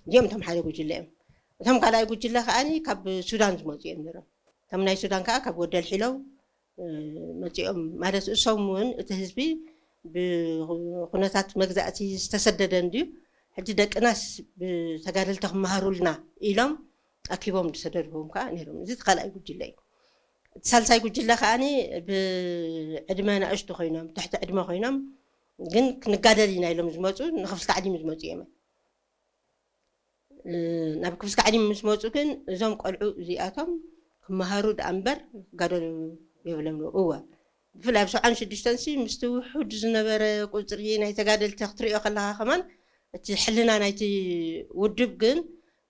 እዚኦም እቶም ሓደ ጉጅለ እዮም። እቶም ካልኣይ ጉጅለ ከዓኒ ካብ ሱዳን ዝመፁ እዮም ነይሮም። እቶም ናይ ሱዳን ከዓ ካብ ወደል ሒለው መፂኦም ማለት እሶም እውን እቲ ህዝቢ ብኩነታት መግዛእቲ ዝተሰደደ እንድዩ። ሕጂ ደቅናስ ብተጋደልቲ ክመሃሩልና ኢሎም ኣኪቦም ዝሰደድዎም ከዓ ነይሮም። እዚ እቲ ካልኣይ ጉጅለ እዩ። እቲ ሳልሳይ ጉጅለ ከዓኒ ብዕድመ ናእሽቱ ኮይኖም ትሕቲ ዕድመ ኮይኖም ግን ክንጋደል ኢና ኢሎም ዝመፁ ንክፍሊ ታዕሊም ዝመፁ እዮም። ናብ ክፍሊ ታዕሊም ምስ መፁ ግን እዞም ቆልዑ እዚኣቶም ክመሃሩ ደኣ እምበር ክጋደሉ የብሎም። እወ ብፍላይ ኣብ ሰብዓን ሽዱሽተን ሲ ምስቲ ውሑድ ዝነበረ ቁፅሪ ናይ ተጋደልቲ ክትሪኦ ከለካ ከማን እቲ ሕልና ናይቲ ውድብ ግን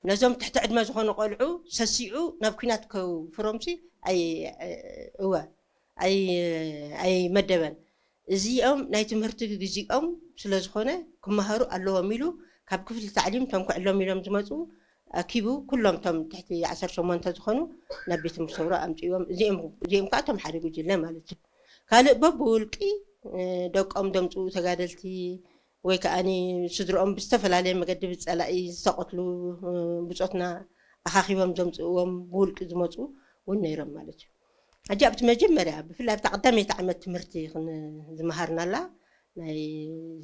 ነዞም ትሕቲ ዕድመ ዝኾኑ ቆልዑ ሰሲዑ ናብ ኲናት ከውፍሮም ሲ እወ ኣይመደበን። እዚኦም ናይ ትምህርቲ ግዜኦም ስለ ዝኾነ ክመሃሩ ኣለዎም ኢሉ ካብ ክፍሊ ታዕሊም እቶም ክዕሎም ኢሎም ዝመፁ ኣኪቡ ኩሎም እቶም ትሕቲ ዓሰርተ ሸሞንተ ዝኾኑ ናብ ቤት ትምህርቲ ሰውራ ኣምፅእዎም። እዚኦም እዚኦም ከዓ እቶም ሓደ ጉጅለ ማለት እዩ። ካልእ በብውልቂ ደቆም ደምፅኡ ተጋደልቲ ወይ ከዓ ስድርኦም ብዝተፈላለየ መገዲ ብፀላኢ ዝተቐትሉ ብፆትና ኣኻኺቦም ዘምፅእዎም ብውልቂ ዝመፁ እውን ነይሮም ማለት እዩ። ሕጂ ኣብቲ መጀመርያ ብፍላይ ኣብታ ቀዳመይቲ ዓመት ትምህርቲ ዝመሃርናላ ናይ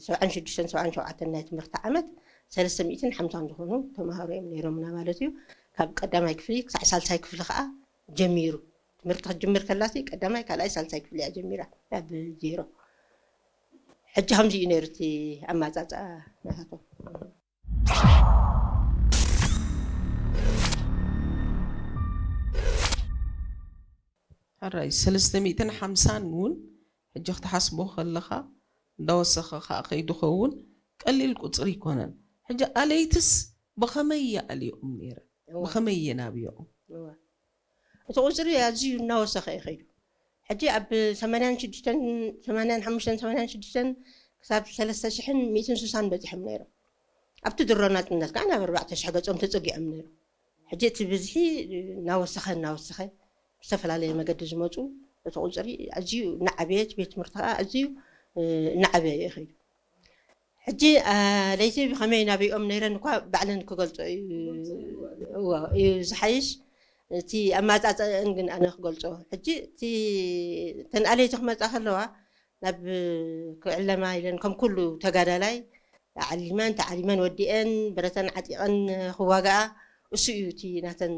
ሰብዓን ሽዱሽተን ሰብዓን ሸውዓተን ናይ ትምህርቲ ዓመት ሰለስተ ሚእትን ሓምሳን ዝኾኑ ተምሃሮ እዮም ነይሮምና ማለት እዩ። ካብ ቀዳማይ ክፍሊ ክሳዕ ሳልሳይ ክፍሊ ከዓ ጀሚሩ ትምህርቲ ክትጅምር ከላሲ ቀዳማይ ካልኣይ ሳልሳይ ክፍሊ እያ ጀሚራ ኣብ ዜሮ። ሕጂ ከምዚ እዩ ነይሩ እቲ ኣማፃፅኣ ናታቶም። ሕራይ ሰለስተ ሚእትን ሓምሳን እውን ሕጂ ክትሓስቦ ከለኻ እንዳወሰኸ ከዓ ከይዱ ኸውን ቀሊል ቁፅሪ ይኮነን። ሕጂ ኣለይትስ ብኸመይ ይኣልዮም ነይረ? ብኸመይ የናብዮም? እቲ ቁፅሪ ኣዝዩ እናወሰኸ እዩ ከይዱ። ሕጂ ኣብ ሰማንያን ሽዱሽተን ሰማንያን ሓሙሽተን ሰማንያን ሽዱሽተን ክሳብ ሰለስተ ሽሕን ሚእትን ስሳን በፂሖም ነይሮም። ኣብቲ ድሮ ናፅነት ከዓ ናብ ኣርባዕተ ሽሕ ገፆም ተፀጊዖም ነይሮም። ሕጂ እቲ ብዝሒ እናወሰኸ እናወሰኸ ብዝተፈላለየ መገዲ ዝመፁ እቲ ቁፅሪ ኣዝዩ እናዓበየ እቲ ቤት ትምህርቲ ከዓ ኣዝዩ እናዓበየ እዩ ከይዱ። ሕጂ ለይቲ ብኸመይ ናበይኦም ነይረን እኳ ባዕለን ክገልፆ እዩ ዝሓይሽ። እቲ ኣማፃፅእን ግን ኣነ ክገልፆ ሕጂ እቲ ተንኣለይቲ ክመፃ ከለዋ ናብ ክዕለማ ኢለን ከም ኩሉ ተጋዳላይ ዓሊመን ተዓሊመን ወዲአን ብረተን ዓጢቐን ክዋግኣ እሱ እዩ እቲ ናተን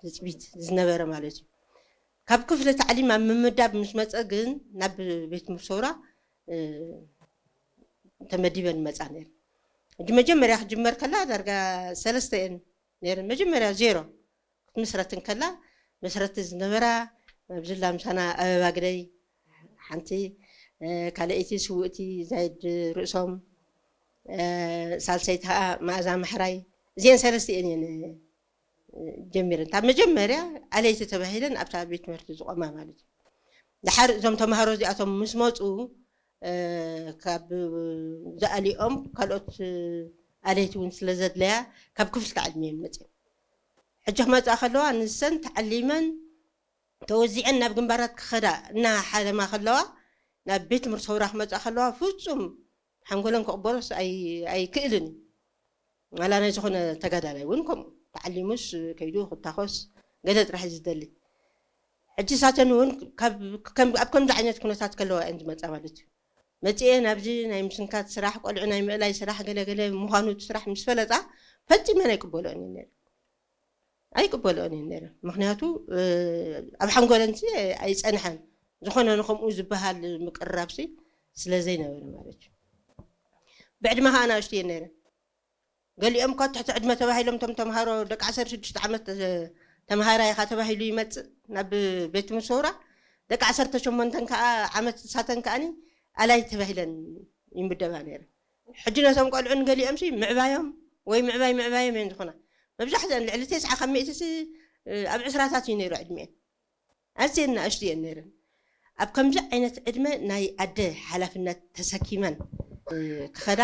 ትፅቢት ዝነበረ ማለት እዩ። ካብ ክፍሊ ታዕሊም ኣብ ምምዳብ ምስ መፀ ግን ናብ ቤት ትምህርቲ ሰውራ ተመዲበን ይመፃ ነይረን። ሕጂ መጀመርያ ክጅመር ከላ ዳርጋ ሰለስተ እየን ነይረን። መጀመርያ ዜሮ ክትምስረት እንከላ መስረቲ ዝነበራ መብዝላ ምሳና ኣበባ ግደይ ሓንቲ፣ ካልኣይቲ ስውእቲ ዛይድ ርእሶም፣ ሳልሰይቲ ከዓ መኣዛ ማሕራይ። እዚአን ሰለስተ እየን እየን ጀሚረን ካብ መጀመርያ ኣለይቲ ተባሂለን ኣብታ ቤት ትምህርቲ ዝቆማ ማለት እዩ። ድሓር እዞም ተምሃሮ እዚኣቶም ምስ መፁ ካብ ዝኣሊኦም ካልኦት ኣለይቲ እውን ስለ ዘድለያ ካብ ክፍሊ ተዓሊም እየን መፅአን። ሕጂ ክመፅኣ ከለዋ ንሰን ተዓሊመን ተወዚዐን ናብ ግንባራት ክኸዳ እናሓለማ ከለዋ ናብ ቤት ትምህርቲ ሰውራ ክመፅኣ ከለዋ ፍፁም ሓንጎለን ክቕበሎስ ኣይክእልን እዩ። ዋላ ናይ ዝኾነ ተጋዳላይ እውን ከምኡ ተዓሊሙስ ከይዱ ክታኾስ ገለ ጥራሕ እዩ ዝደሊ። ሕጂ ሳተን እውን ኣብ ከምዚ ዓይነት ኩነታት ከለዋ እየን ዝመፃ ማለት እዩ። መፅኤ ናብዚ ናይ ምስንካት ስራሕ ቆልዑ ናይ ምእላይ ስራሕ ገለገለ ምዃኑ እቲ ስራሕ ምስ ፈለጣ ፈፂመን ኣይቅበልኦን እየን ነይረን። ኣይቅበልኦን እየን ነይረን። ምክንያቱ ኣብ ሓንጎለን ሲ ኣይፀንሐን። ዝኾነ ንከምኡ ዝበሃል ምቅርራብ ሲ ስለ ዘይነበረ ማለት እዩ። ብዕድመ ከዓ ናእሽቱ እየን ነይረን። ገሊኦም እኳ ትሕቲ ዕድመ ተባሂሎም እቶም ተምሃሮ ደቂ ዓሰርተ ሽዱሽተ ዓመት ተምሃራይ ኢኻ ተባሂሉ ይመፅእ ናብ ቤት ትምህርቲ ሰውራ። ደቂ ዓሰርተ ሸሞንተን ከዓ ዓመት ንሳተን ከዓኒ ኣላይ ተባሂለን ይምደባ ነይረን። ሕጂ ነቶም ቆልዑ ንገሊኦም ሲ ምዕባዮም ወይ ምዕባይ ምዕባዮም እየን ዝኾና። መብዛሕትአን ልዕሊ ተስዓ ካብ ሚእቲ ሲ ኣብ ዕስራታት እዩ ነይሩ ዕድሚኤን። ኣዝየን ንኣሽቱ እየን ነይረን። ኣብ ከምዚ ዓይነት ዕድመ ናይ ኣደ ሓላፍነት ተሰኪመን ክኸዳ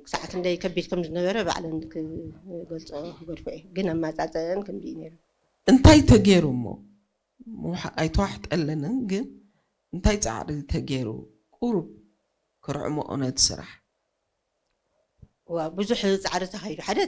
ክሳዕ ክንደይ ከቢድ ከም ዝነበረ ባዕለን ክገልፆ ክገድፎ እየ። ግን ኣማፃፅአን ከምዚ እዩ ነይሩ። እንታይ ተገይሩ እሞ ኣይተዋሕጠለንን፣ ግን እንታይ ፃዕሪ ተገይሩ ቁሩብ ክርዕምኦ ነቲ ስራሕ? ዋ ብዙሕ ፃዕሪ ተኻይዱ። ሓደ